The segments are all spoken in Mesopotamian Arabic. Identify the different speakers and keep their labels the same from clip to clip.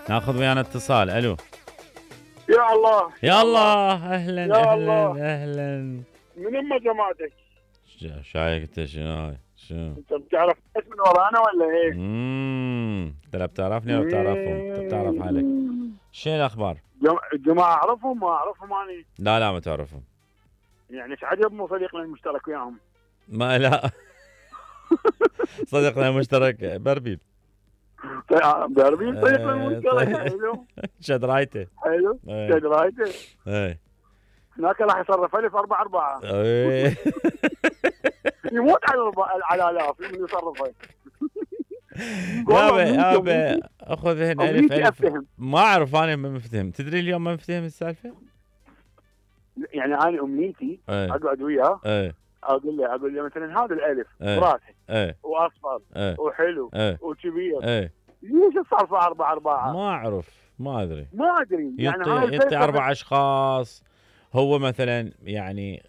Speaker 1: ناخذ ويانا اتصال. الو
Speaker 2: يا الله
Speaker 1: يا الله. اهلا
Speaker 2: يا
Speaker 1: اهلا
Speaker 2: الله.
Speaker 1: اهلا.
Speaker 2: من أم جماعتك؟
Speaker 1: شايك انت شنو هاي؟ شنو؟
Speaker 2: انت بتعرف ايش من ورانا ولا ايه؟
Speaker 1: انت لا بتعرفني ولا بتعرفهم؟ انت بتعرف حالك. شنو الاخبار؟
Speaker 2: الجماعة اعرفهم ما اعرفهم اني.
Speaker 1: لا ما تعرفهم.
Speaker 2: يعني ايش عجب مو صديقنا المشترك وياهم.
Speaker 1: ما لا. صديقنا المشترك بربيل.
Speaker 2: داربين صديقنا المشترك. حلو
Speaker 1: شد رايته.
Speaker 2: حلو شد رايته. هناك راح يصرف 1000 يموت على الاف من يصرفه.
Speaker 1: يابا اخذ هنا 1000
Speaker 2: أفتهم.
Speaker 1: ما اعرف انا ما مفتهم. تدري اليوم ما مفتهم السالفه.
Speaker 2: يعني انا امنيتي اقعد وياه اقول له مثلا هذا الالف براسه واصفر وحلو وكبير ليش الصرفه 4
Speaker 1: ما اعرف ما ادري
Speaker 2: يعني
Speaker 1: ينطي 4 اشخاص. هو مثلا يعني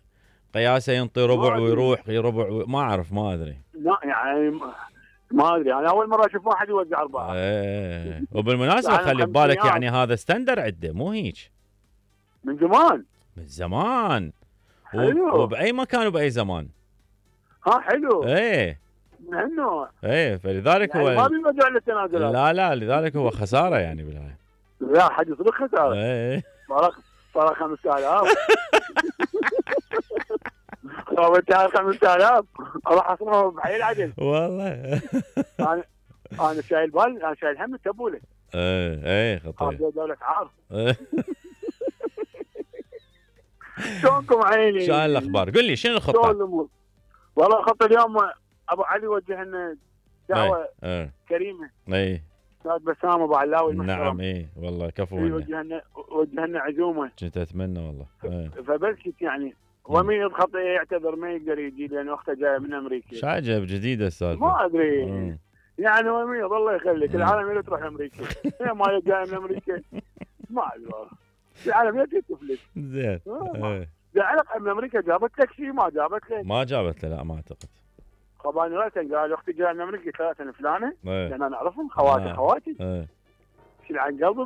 Speaker 1: قياسه ينطي ربع ويروح ربع ما اعرف ما ادري.
Speaker 2: لا يعني ما ادري انا اول مره اشوف واحد يوزع 4.
Speaker 1: وبالمناسبه خلي ببالك يعني هذا ستاندر عنده مو هيك.
Speaker 2: من زمان
Speaker 1: من زمان.
Speaker 2: حلو.
Speaker 1: وباي مكان وباي زمان.
Speaker 2: حلو.
Speaker 1: من
Speaker 2: هالنوع.
Speaker 1: فلذلك
Speaker 2: يعني
Speaker 1: هو
Speaker 2: ما بيوجع للتنازلات.
Speaker 1: لا لذلك هو خساره يعني بالهاي.
Speaker 2: لا حد يصدق خساره. فرق 5000. لو انت 5000 راح اصرفه بحي العدل
Speaker 1: والله.
Speaker 2: انا شايل بال انا شايل هم التبوله.
Speaker 1: خطير.
Speaker 2: دولة عار. شلونكم عيني؟
Speaker 1: شو الاخبار؟ قل لي شنو الخطه؟
Speaker 2: والله الخطه اليوم ابو علي وجه لنا دعوه كريمه. استاذ بسام ابو علاوي المحترم.
Speaker 1: نعم والله كفو منا.
Speaker 2: وجه لنا عزومه.
Speaker 1: كنت اتمنى والله.
Speaker 2: فبلشت يعني ومين الخطه يعتذر ما يقدر يجي لان اخته جايه من امريكا.
Speaker 1: شو عجب جديده السالفه.
Speaker 2: ما ادري. يعني ومين الله يخليك العالم تروح امريكا. هي ما جايه من امريكا. ما ادري والله. العالم تفلت.
Speaker 1: زين.
Speaker 2: زعلق من امريكا جابت لك شيء ما جابت لك.
Speaker 1: ما جابت له لا ما اعتقد.
Speaker 2: خباني راسا قال اختي جايه من امريكا 3 سنه فلانه. لان انا اعرفهم خواتي. شيل عن قلبي.